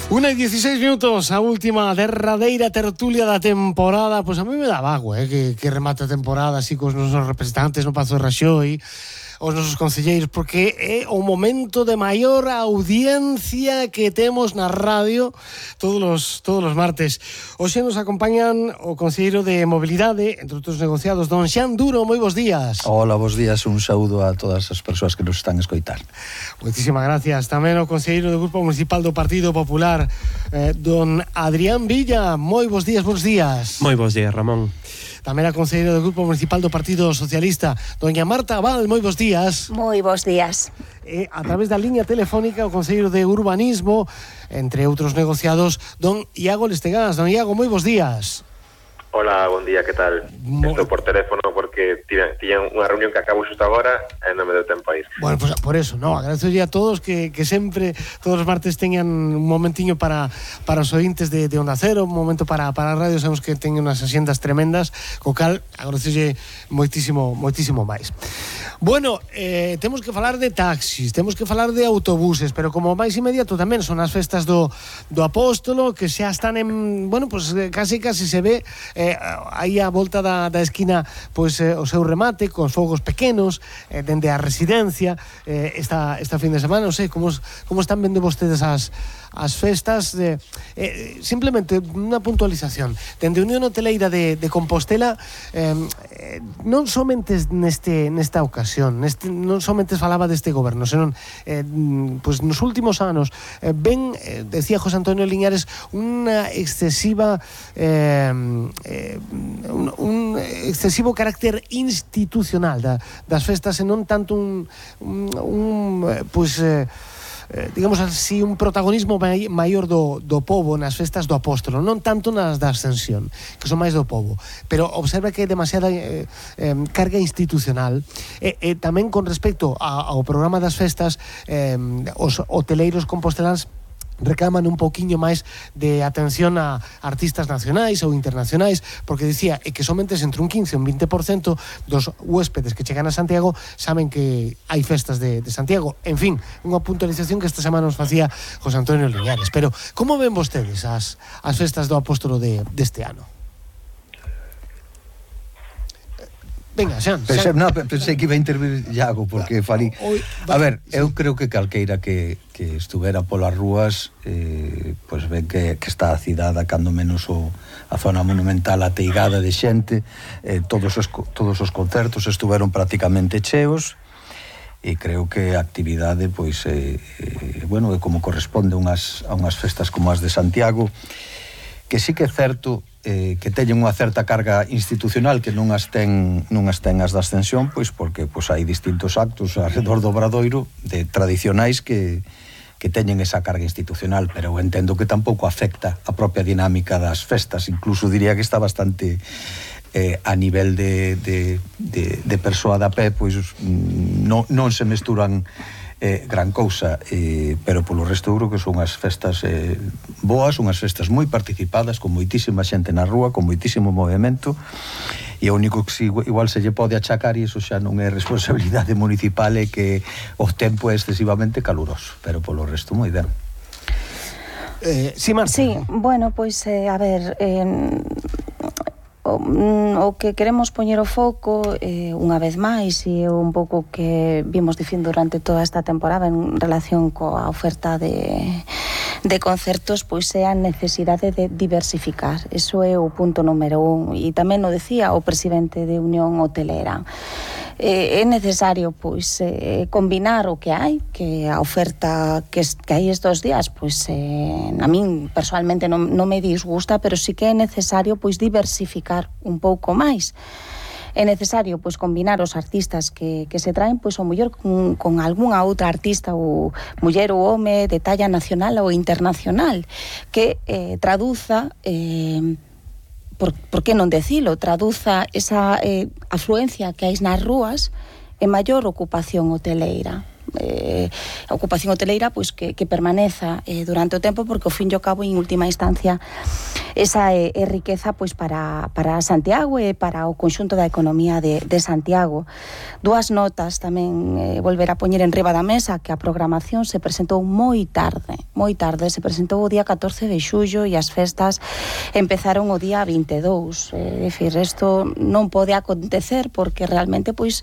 1:16, a última derradeira tertulia da temporada. Pois a mí me dá vago, que remate a temporada así cos nosos representantes no Pazo de Raxoi, os nosos concelleiros, porque é o momento de maior audiencia que temos na radio todos os martes. Hoxe nos acompañan o concelleiro de Mobilidade, entre outros negociados, don Xan Duro. Moi bons días. Hola, bons días, un saúdo a todas as persoas que nos están a escoitar. Moitísimas gracias. Tamén o concelleiro do Grupo Municipal do Partido Popular, don Adrián Villa. Moi bons días, bons días. Moi bons días, Ramón. Tamén a concelleira do Grupo Municipal do Partido Socialista, doña Marta Abal. Moi bons días. Moi bons días. A través da liña telefónica, o concelleiro de Urbanismo, entre outros negociados, don Iago Lestegás. Don Iago, moi bons días. Hola, bon día, que tal? Estou por teléfono porque tiñan unha reunión que acabo xusto agora e non me deu tempo a ir. Bueno, pues por eso, no, agradezolle a todos que sempre, todos os martes teñan un momentiño para os ointes de Onda Cero, un momento para a radio. Sabemos que teñen unhas axendas tremendas, co cal agradezolle moitísimo máis. Bueno, temos que falar de taxis, temos que falar de autobuses, pero como máis inmediato tamén son as festas do Apóstolo, que xa están en, bueno, pues casi se ve aí a volta da esquina, pois o seu remate cos fogos pequenos dende a residencia esta fin de semana. Non sei como están vendo vostedes as festas. Simplemente unha puntualización dende Unión Hoteleira de Compostela, non somente nesta ocasión, non somente falaba deste goberno, senón pois nos últimos anos decía José Antonio Liñares, unha excesiva un excesivo carácter institucional das festas, e non tanto digamos así, un protagonismo maior do pobo nas festas do Apóstolo, non tanto nas da Ascensión, que son máis do pobo, pero observa que é demasiada carga institucional. E tamén con respecto ao programa das festas, os hoteleiros composteláns reclaman un pouquiño máis de atención a artistas nacionais ou internacionais, porque dicía que somente entre un 15 e un 20% dos huéspedes que chegan a Santiago saben que hai festas de Santiago. En fin, unha puntualización que esta semana nos facía José Antonio Liñares. Pero como ven vostedes as festas do Apóstolo deste ano? Venga, Xan. Pensei que iba a intervir Iago, porque falí. A ver, eu creo que calqueira que estuvera polas rúas, pois ven que está a cidade, cando menos a zona monumental ateigada de xente. Todos os concertos estuveron prácticamente cheos, e creo que a actividade, pois, bueno, é como corresponde a unhas festas como as de Santiago, que sí que é certo que teñen unha certa carga institucional que non as ten as da Ascensión, pois porque hai distintos actos alrededor do Obradoiro tradicionais que teñen esa carga institucional, pero eu entendo que tampouco afecta a propia dinámica das festas. Incluso diría que está bastante a nivel de persoa da pé, pois non se mesturan gran cousa, pero polo resto eu creo que son unhas festas boas, unhas festas moi participadas, con moitísima xente na rúa, con moitísimo movimento, e o único que igual se lle pode achacar, e iso xa non é responsabilidade municipal, é que o tempo é excesivamente caluroso, pero polo resto moi ben. Sí, Marta. Sí, bueno, pois a ver, o que queremos poñer o foco unha vez máis, e un pouco que vimos dicindo durante toda esta temporada en relación coa oferta de concertos, pois é a necesidade de diversificar. Eso é o punto número 1, e tamén o decía o presidente de Unión Hotelera. É necesario, pois, combinar o que hai, que a oferta que hai estes días, pois, a min personalmente non me disgusta, pero sí que é necesario, pois, diversificar un pouco máis. É necesario, pois, combinar os artistas que se traen, pois, o mellor con algunha outra artista, ou muller ou home, de talla nacional ou internacional, que traduza por que non decilo, traduza esa afluencia que hai nas rúas en maior ocupación hoteleira. Ocupación hoteleira, pois, que permaneza durante o tempo, porque ao fin e ao cabo, en última instancia, esa é riqueza pois para Santiago e para o conxunto da economía de Santiago. Dúas notas tamén volver a poñer en riba da mesa, que a programación se presentou moi tarde, se presentou o día 14 de xullo e as festas empezaron o día 22. É dicir, isto non pode acontecer porque realmente pois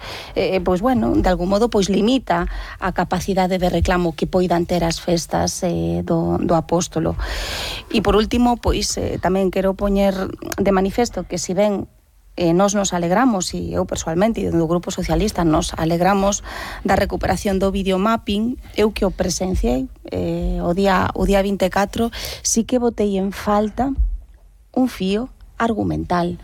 bueno, de algún modo pois limita a capacidade de reclamo que poidan ter as festas do Apóstolo. E por último, pois tamén quero poñer de manifesto que si ben nós nos alegramos, e eu persoalmente e do Grupo Socialista nos alegramos da recuperación do videomapping, eu que o presenciei o día 24, sí que botei en falta un fío argumental.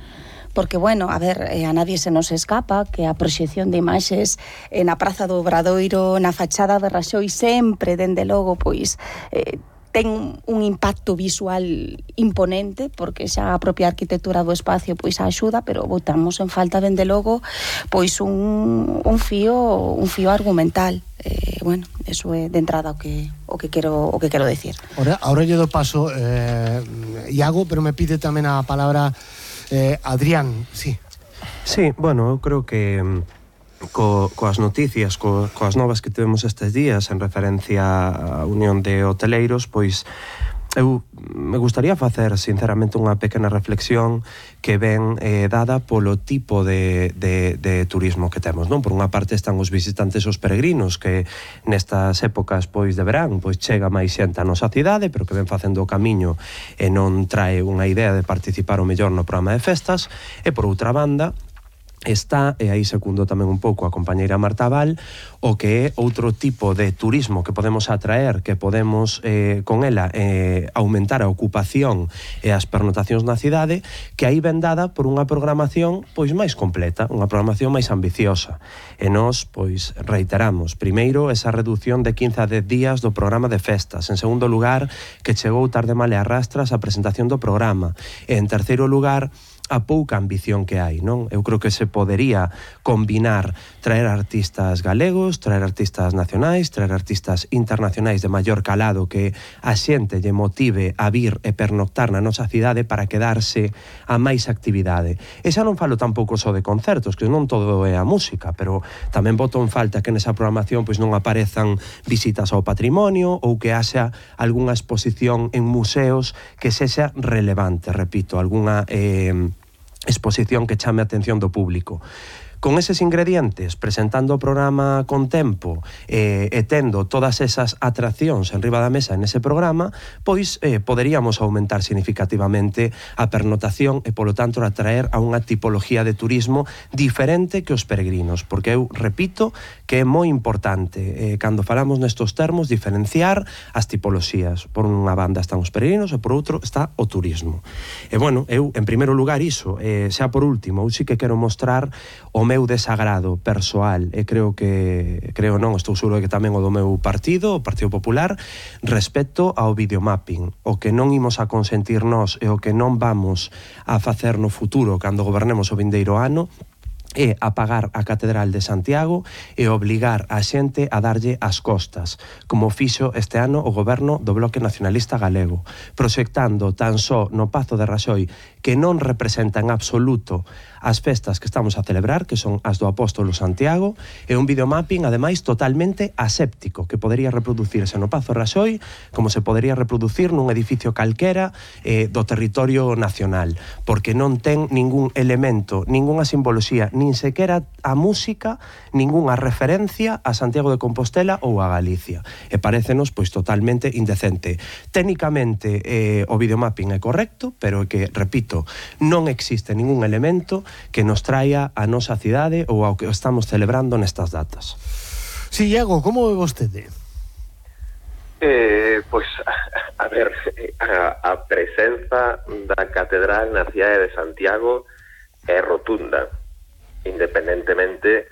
Porque, bueno, a ver, a nadie se nos escapa que a proxección de imaxes na Praza do Obradoiro, na fachada de Raxoi, sempre, dende logo, pois, ten un impacto visual imponente, porque xa a propia arquitectura do espacio pois axuda, pero botamos en falta, dende logo, pois un fío argumental. Bueno, eso é de entrada o que quero decir. Ahora lle do paso Iago, pero me pide tamén a palabra Adrián, sí. Sí, bueno, eu creo que coas noticias, coas novas que tivemos estes días en referencia á Unión de Hoteleiros, pois eu me gustaría facer sinceramente unha pequena reflexión que ven dada polo tipo de turismo que temos, non? Por unha parte están os visitantes, os peregrinos, que nestas épocas pois de verán pois chega máis xente á nosa cidade, pero que ven facendo o camiño e non trae unha idea de participar o mellor no programa de festas. E por outra banda está, e aí secundo tamén un pouco a compañeira Marta Val, o que é outro tipo de turismo que podemos atraer, que podemos con ela aumentar a ocupación e as pernotacións na cidade, que aí ven dada por unha programación pois máis completa, unha programación máis ambiciosa. E nós, pois, reiteramos, primeiro, esa reducción de 15 a 10 días do programa de festas. En segundo lugar, que chegou tarde mal e arrastras a presentación do programa. E en terceiro lugar, a pouca ambición que hai, non? Eu creo que se podería combinar traer artistas galegos, traer artistas nacionais, traer artistas internacionais de maior calado que a xente lle motive a vir e pernoctar na nosa cidade para quedarse a máis actividade. E xa non falo tampouco só de concertos, que non todo é a música, pero tamén boto en falta que nesa programación pois non aparezan visitas ao patrimonio ou que haxa algunha exposición en museos que sexa relevante, repito, algunha exposición que chame a atención do público. Con eses ingredientes, presentando o programa con tempo e tendo todas esas atraccións en riba da mesa en ese programa, pois poderíamos aumentar significativamente a pernotación e, polo tanto, atraer a unha tipología de turismo diferente que os peregrinos, porque eu repito que é moi importante, cando falamos nestos termos, diferenciar as tipoloxías. Por unha banda están os peregrinos e por outro está o turismo. E, bueno, eu, en primeiro lugar, iso, xa por último, eu sí que quero mostrar o meu desagrado persoal, e creo non, estou seguro que tamén o do meu partido, o Partido Popular, respecto ao videomapping. O que non imos a consentir nós e o que non vamos a facer no futuro cando gobernemos o vindeiro ano é apagar a Catedral de Santiago e obligar a xente a darlle as costas, como fixo este ano o goberno do Bloque Nacionalista Galego, proxectando tan só no Pazo de Raxoi, que non representa en absoluto as festas que estamos a celebrar, que son as do Apóstolo Santiago, e un videomapping, ademais, totalmente aséptico, que podería reproducirse no Pazo Raxoi como se podería reproducir nun edificio calquera do territorio nacional, porque non ten ningún elemento, ningunha simboloxía, nin sequera a música, ningunha referencia a Santiago de Compostela ou a Galicia. E parécenos, pois, totalmente indecente. Técnicamente, o videomapping é correcto, pero que, repito, non existe ningún elemento que nos traia a nosa cidade ou ao que estamos celebrando nestas datas. Sí, Iago, como ve vostede? Pois, a ver, a presenza da catedral na cidade de Santiago é rotunda, independentemente